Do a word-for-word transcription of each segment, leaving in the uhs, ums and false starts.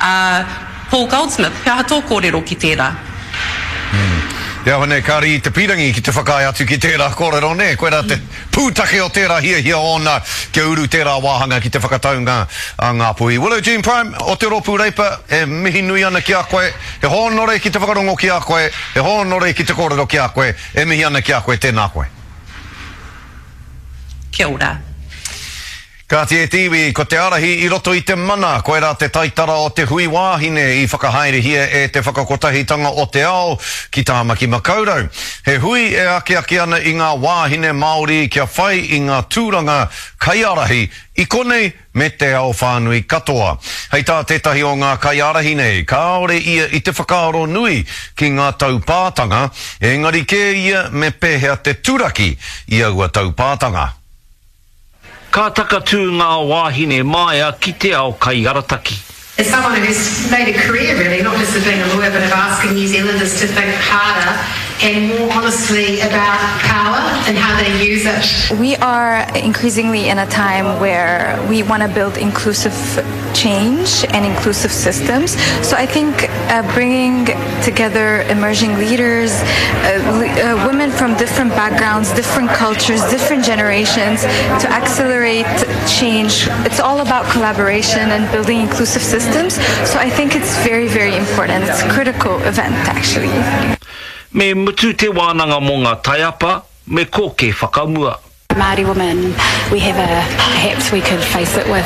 Uh, Paul Goldsmith, he aha tō kōrero ki tērā? Mm. Te aho nei, kāre i te pīrangi ki te whakaae atu ki tērā kōrero, nē? Koirā te pūtake o tērā hiahia ōna kia uru tērā wāhanga ki te whakataunga a Ngāpuhi. Willow Jean Prime o te Rōpū Reipa, e mihi nui ana ki a koe, he hōnore ki te whakarongo ki a koe, he hōnore ki te kōrero ki a koe, e mihi ana ki a koe, tēnā koe. Kia ora. Kāti e te iwi, ko te ārahi i roto i te mana, koirā te taitara o te hui wāhine i whakahaerehia e te Whakakotahitanga o te Ao ki Tāmaki Makaurau. He hui e akiaki ana i ngā wāhine Māori kia whai i ngā tūranga kaiārahi i konei me te ao whānui katoa. Hei tā tētahi o ngā kaiārahi nei, kāore ia i te whakaaro nui ki ngā taupātanga, engari kē ia me pēhea te turaki i aua taupātanga. Ka takatū ngā wāhine māia ki te ao kaiarataki. As someone who's made a career really, not just of being a lawyer, but of asking New Zealanders to think harder and more honestly about power and how they use it. We are increasingly in a time where we want to build inclusive change and inclusive systems. So I think uh, bringing together emerging leaders, uh, uh, women from different backgrounds, different cultures, different generations to accelerate change. It's all about collaboration and building inclusive systems. So I think it's very, very important. It's a critical event, actually. Me mutu te wānanga mō ngā taiapa, me koke whakamua. Māori women, we have a, perhaps we could face it with,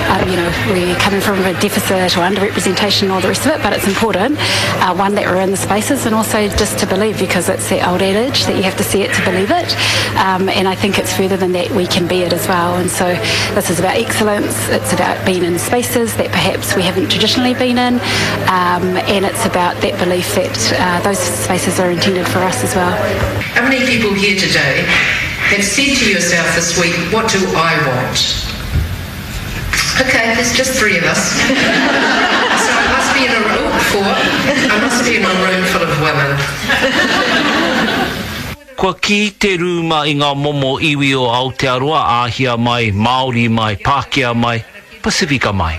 um, you know, we're coming from a deficit or underrepresentation and all the rest of it, but it's important, uh, one, that we're in the spaces, and also just to believe, because it's that old adage that you have to see it to believe it, um, and I think it's further than that, we can be it as well, and so this is about excellence, it's about being in spaces that perhaps we haven't traditionally been in, um, and it's about that belief that uh, those spaces are intended for us as well. How many people here today have said to yourself this week, what do I want? Okay, there's just three of us. So I must be in a room, four. I must be in a room full of women. Kua kī te rūma i ngā momo iwi o Aotearoa, Āhia mai, Māori mai, Pākehā mai, Pasifika mai.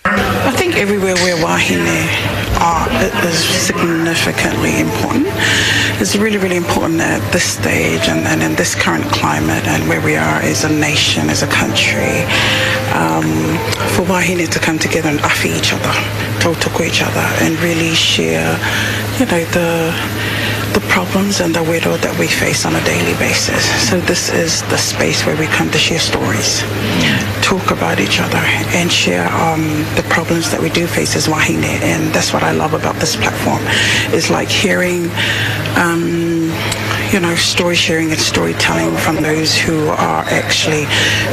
I think everywhere where wāhine are, it is significantly important. It's really, really important at this stage and, and in this current climate and where we are as a nation, as a country, um, for wāhine to come together and awhi each other, tautoko each other, and really share, you know, the, the problems and the wero that we face on a daily basis. So this is the space where we come to share stories, talk about each other, and share, um, the problems that we do face as wāhine. And that's what I love about this platform, is like hearing, um, you know, story sharing and storytelling from those who are actually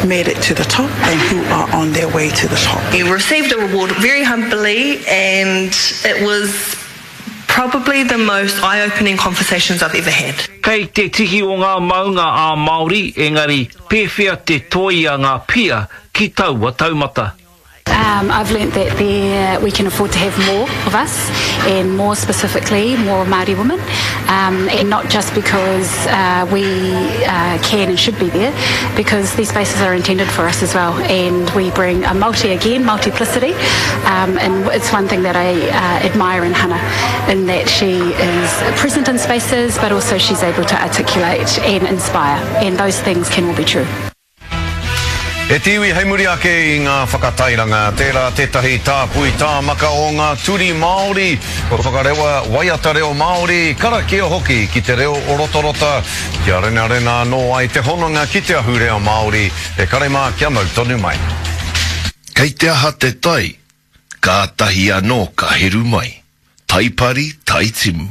made it to the top and who are on their way to the top. We received a reward very humbly, and it was probably the most eye-opening conversations I've ever had. Kei te tihi o ngā maunga a Māori, engari pēwhea te toi a ngā pia ki taua taumata. Um, I've learnt that there, we can afford to have more of us, and more specifically, more Māori women, um, and not just because, uh, we, uh, can and should be there, because these spaces are intended for us as well, and we bring a multi, again, multiplicity, um, and it's one thing that I, uh, admire in Hannah, in that she is present in spaces, but also she's able to articulate and inspire, and those things can all be true. E te iwi hei muri ake i ngā whakatairanga, tērā tētahi tāpui tāmaka o ngā turi Māori, kua whakarewa waiata reo Māori, karakia hoki ki te reo o Rotorota, kia renarena anō ai te hononga ki te ahurea Māori, e kare mā kia mau tonu mai. Kei te aha te tai, kātahi anō ka heru mai. Taipari, taitimu.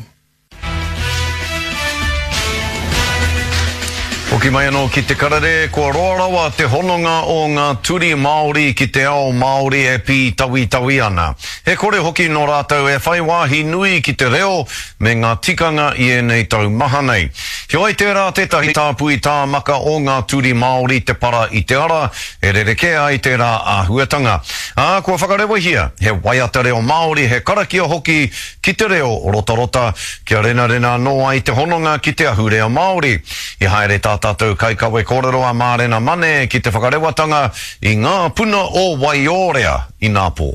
Hoki mai anō ki te karere, kua roa rawa te hononga o ngā turi Māori ki te ao Māori e pītawitawi ana. He kore hoki nō rātou e whai wāhi nui ki te reo me ngā tikanga i ēnei tau maha nei. Heoi tērā tētahi tāpui tāmaka o ngā turi Māori te para i te ara, e rerekē ai tērā āhuatanga. Ā, kua whakarewahia, he waiata reo Māori, he karakia hoki ki te reo rotarota, kia renarena anō ai te hononga ki te ahurea Māori. I haere tā tātou kaikawe kōrero a Mārena Mane ki te whakarewatanga i ngā puna o Waiorea i Nāpō.